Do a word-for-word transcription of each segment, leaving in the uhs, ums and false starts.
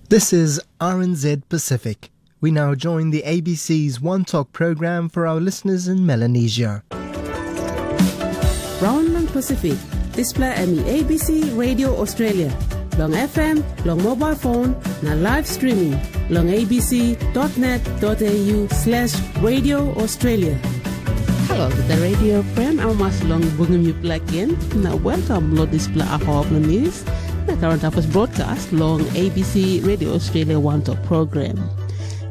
This is R N Z Pacific. We now join the A B C's One Talk program for our listeners in Melanesia. Raun long Pasifik, dispela em i A B C Radio Australia, long F M, long mobile phone, na live streaming long A B C dot net dot A U slash Radio Australia. Halo, the radio friend, I'm Mas long bungim you black in. Now, welcome, Lord, this bla aho of the news. Na current affairs broadcast long A B C Radio Australia One Talk program.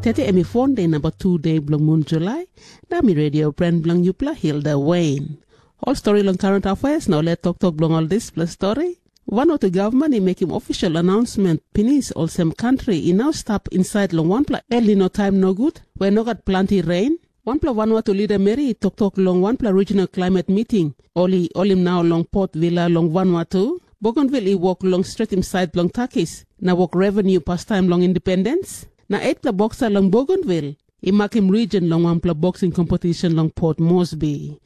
Tete em i phone day number two day bilong mun Julai. Na mi radio friend bilong yupela Hilda Wayne. Ol stori long current affairs na ol toktok bilong ol dispela stori. Vanuatu gavman i mekim official announcement pinis olsem kantri i nau stap insait long wanpela El Nino taim nogut, we no gat planti rain. Wanpela Vanuatu lida meri i toktok long wanpela regional climate meeting. Ol i holim nau long Port Vila long Vanuatu. Bougainville i wok long stretim sait bilong takis, na wok revenue pastaim long independens. Na etpela boksa long Bougainville i makim region long wanpela boxing competition long Port Moresby.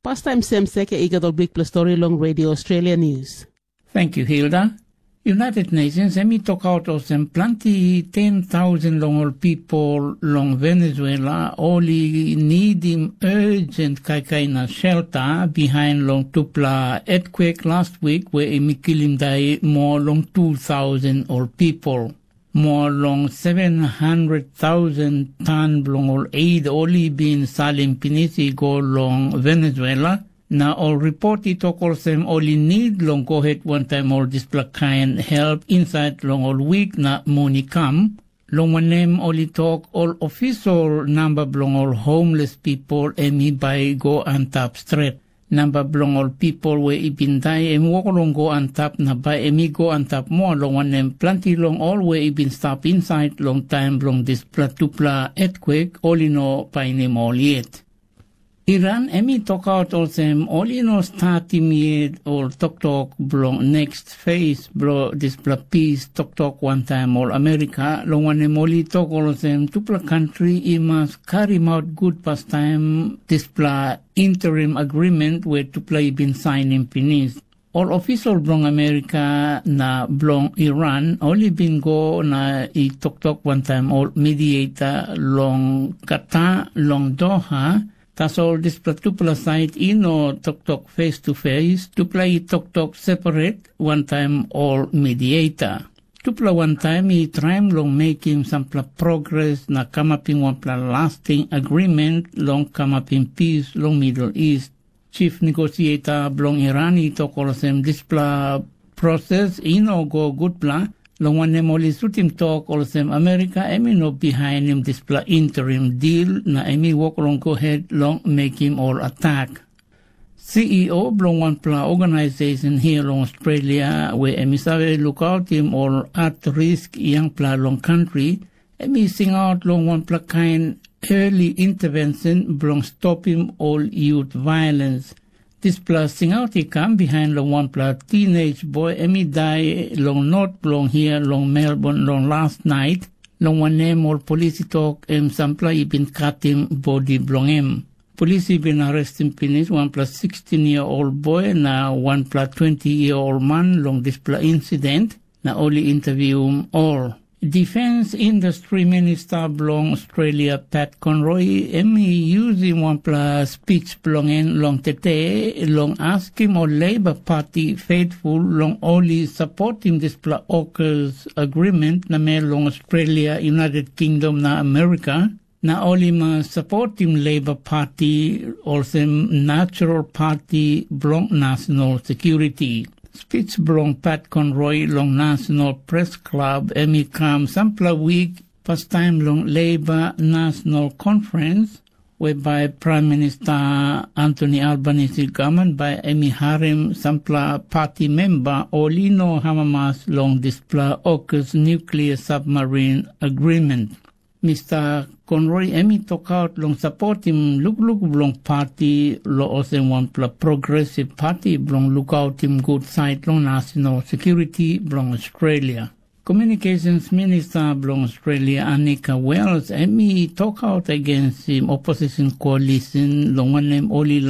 Pastaim sem seke i gat ol bikpela stori long Radio Australia News. Thank you, Hilda. United Nations em i tokaut olsem planti ten thousand long ol people long Venezuela ol i nidim urgent kaikai na shelter behind long tupela earthquake last week where em i kilim dai more long two thousand ol people. More long seven hundred thousand tan bilong ol aid ol i bin salim pinis i go long Venezuela, na ol ripot i tok olsem ol i nid long go het wantaim ol dispela kain help insait long ol wik na mun i kam, long wanem ol i tok ol ofisol namba bilong ol homeless people em i bai i go antap stret. Namba bilong ol people we i bin dai em wok long go antap na bai em i go antap moa, long wanem planti long ol we i bin stap insait long taim bilong dispela tupela etkwek ol i no painim ol yet. Iran em i tokaut olsem ol i no statim yet ol toktok bilong next phase bilong dispela pis toktok wantaim ol Amerika, long wanem ol i tok olsem tupela kantri i mas karimaut gut pastaim dispela interim agreement we tupela i bin sainim pinis. Ol ofisol bilong Amerika na bilong Iran ol i bin go na i toktok wantaim ol mediator long Qatar long Doha. Tasol dispela tupela sait i no toktok face to face, tupela i toktok separat wantaim ol mediator. Tupela wantaim i traim long mekim sampela progres na kamapim wanpela lasting agreement long kamapim pis long Middle East. Chief negosieta bilong Iran i tok olsem dispela proses i no go gutpela, long wanem ol i sutim tok olsem Amerika em i no bihainim dispela interim dil na em i wok long go het long mekim ol atak. C E O bilong wanpela organisasion hia long Australia we em i save lukautim ol at risk yangpela long kantri, em i singaut long wanpela kain early intervention bilong stopim ol youth violence. Dispela singaut i kam bihain long wanpela teenage boy em i dai long not bilong hia long Melbourne long last night, long wanem ol polis i tok em sampela i bin katim bodi bilong em. Polis i bin arrestim pinis wanpela sixteen year old boy na wanpela twenty year old man long dispela insident, na ol i intervium ol. Defense Industry Minister bilong Australia Pat Conroy em i yusim wanpela speech bilong en long tete long askim ol Labor Party faithful long ol i sapotim dispela AUKUS agreement namel long Australia, United Kingdom na Amerika, na ol i mas sapotim Labor Party olsem natural party bilong national security. Speech bilong Pat Conroy long National Press Club em i kam sampela wik pastaim long Labor National Conference, whereby Prime Minister Anthony Albanese government bai em i harim sampela party member ol i no amamas long dispela AUKUS nuclear submarine agreement. Mister Conroy em i tokaut long sapotim lukluk bilong parti long olsem wanpela progresiv parti bilong lukautim gut sait long nasional sekuriti bilong Australia. Komunikasens minista bilong Australia, Anika Wells, em i tokaut agensim opposisin koalisin, long wanem ol i